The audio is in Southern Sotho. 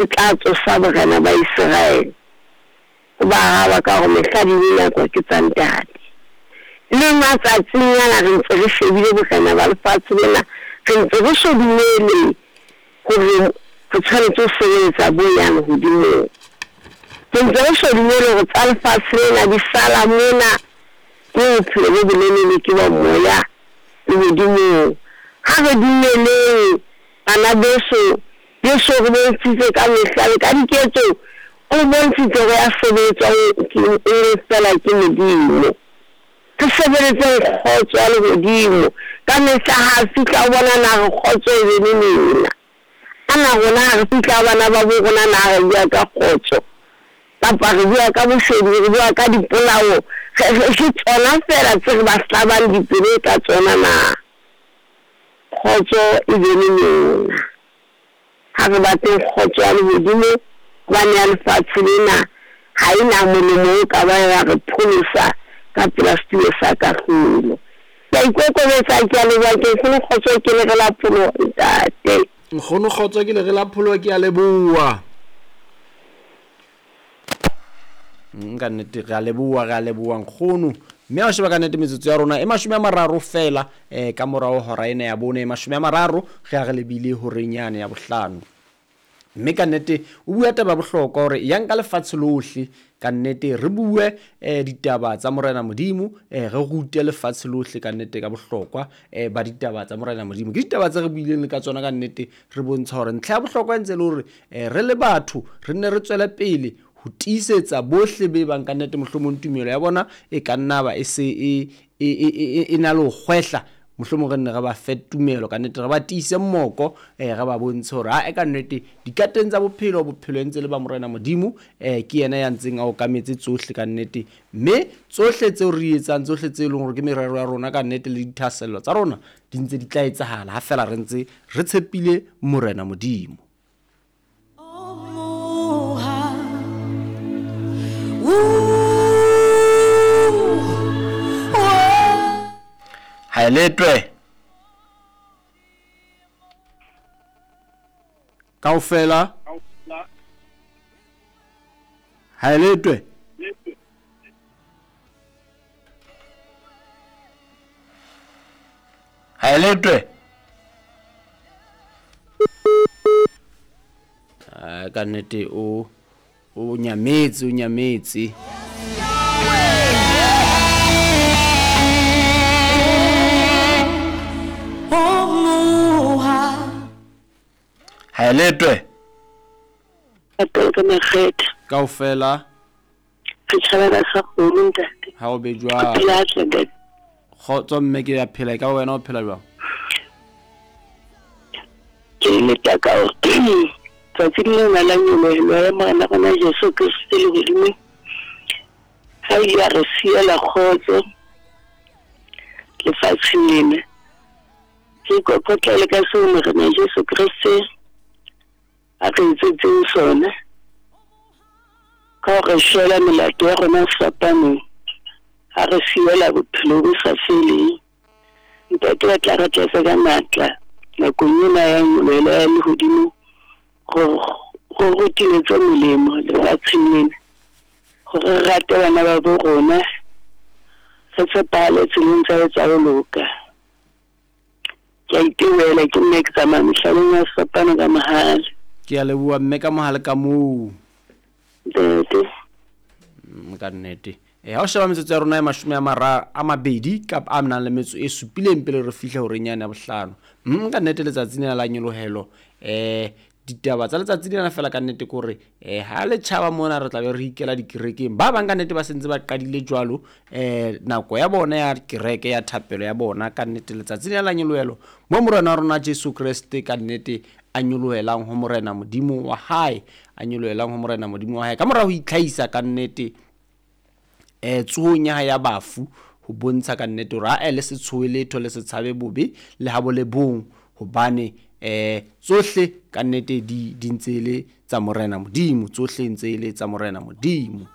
E tla tsosa borena ba Iseraele. O ba araba ka hore mehla le dinako ke tsa Ntate. Le matsatsing ana re ntse re shebile borena ba lefatshe lena, re ntse re so dumele hore re tshwanetse ho sebeletsa bo ya lehodimong. Re ntse re so dumele hore tsa lefatshe lena di sala mona, mme bophelo bo bolelele ke ba moya lehodimong. Ha re dumeleng bana beso, Jesu o re bontshitse ka mehla le ka diketso, o re bontshitse hore ya sebeletswang ke e le feela ke Modimo. Re sebeletseng kgotso ya lehodimo ka mehla. Ha a fihla o bona na re kgotso e be le lena. A na rona ha re fihla ho bana ba bo rona na re bua ka kgotso kapa re bua ka boshodu, re bua ka dipolao, ke tsona feela tse re ba hlabang dipelo ka tsona na? Kgotso e be le lona. Ha re batleng kgotso ya lehodimo, hobane ya lefatshe lena ha e na molemo o ka bang ya re pholosa ka pela setulo sa kahlolo. Ke a ikokobetsa, ke a leboha, ke Nkgono Kgotso, ke lere la pholoho, Ntate. Nkgono Kgotso, ke lere la pholoho, ke a leboha. Ka nnete re a leboha, re a leboha nkgono. Mme ha o sheba ka nnete metsotso ya rona e 30 feela ka morao hora ena ya bone, e 30 re a re lebile horeng yane ya bohlano. Mme ka nnete o bua taba ya bohlokwa hore yang ka lefatshe lohle, ka nnete re bue ditaba tsa Morena Modimo, re rute lefatshe lohle ka nnete ka bohlokwa ba ditaba tsa Morena Modimo. Ke ditaba tse re buileng le ka tsona ka nnete, re bontsha hore ntlha ya bohlokwa e ntse e le hore re le batho re nne re tswele pele ho tiisetsa bohle be bang ka nnete mohlomong tumelo ya bona e ka nna ba e se e na le ho kgwehla, mohlomong re nne re ba fe tumelo ka nnete, re ba tiise moko, re ba bontshe hore ae ka nnete dikateng tsa bophelo, bophelo e ntse le ba Morena Modimo, ke yena ya ntseng a okametse tsohle ka nnete, mme tsohle tseo re di etsang, tsohle tse leng hore ke merero ya rona ka nnete le dithahasello tsa rona di ntse di tla etsahala ha fela re ntse re tshepile Morena Modimo. Ha e letwe kaofela, ha e letwe. Ha e letwe. Ka nnete o o nyametse, o nyametse. Ha e letwe. Kaofela. Re tjhabela sa kgomo ntate. Ha o be jwang? O phela hantle ntate? Kgotso mme, ke ya phela, e ka wena o phela jwang? Ke leta ka hore tsatsing lena la nyolohelo ya Morena rona Jesu Kriste lehodimong, ha ile a re siela kgotso lefatsheng lena. Re ikokotlele ka seo Morena Jesu Kriste a re etsetseng sona ka ho re shwela melato ya rona sefapanong, a re siela bophelo bo sa feleng. Ntate a tla re tlatsa ka matla nakong ena ya nyolohelo ya lehodimo gore go rutile tse molemo lefatsheng lena, gore re rate bana ba bo rona, re tshepahale tseleng tsa tsa ho loka. Ke a itebohela, ke nna ke tsamaya mehlaleng ya sefapano ka mohale. Ke a leboha mme ka mohale ka moo. Ntate. Ka nnete. Ha o sheba metsotso ya rona e 20 kapa a nang le metso e supileng pele re fihla horeng yane ya bohlano. Ka nnete letsatsi lena la nyolohelo, ditaba tsa letsatsi lena fela ka nnete ke hore ha le tjhaba mona re tla be re ikela dikerekeng. Ba bang ka nnete ba sentse ba qadile jwalo, nako ya bona ya kereke ya thapelo ya bona ka nnete letsatsi lena la nyolohelo mo Morena wa rona Jesu Kreste ka nnete a nyolohelang ho Morena Modimo wa hae, a nyolohelang ho Morena Modimo wa hae ka mora ho itlhahisa ka nnete tsohong ya hae ya bafu, ho bontsha ka nnete hore ae le se tshohe letho, le se tshabe bobe le ha bo le bong, hobane tsohle ka nnete di ntse e le tsa Morena Modimo, tsohle ntse e le tsa Morena Modimo.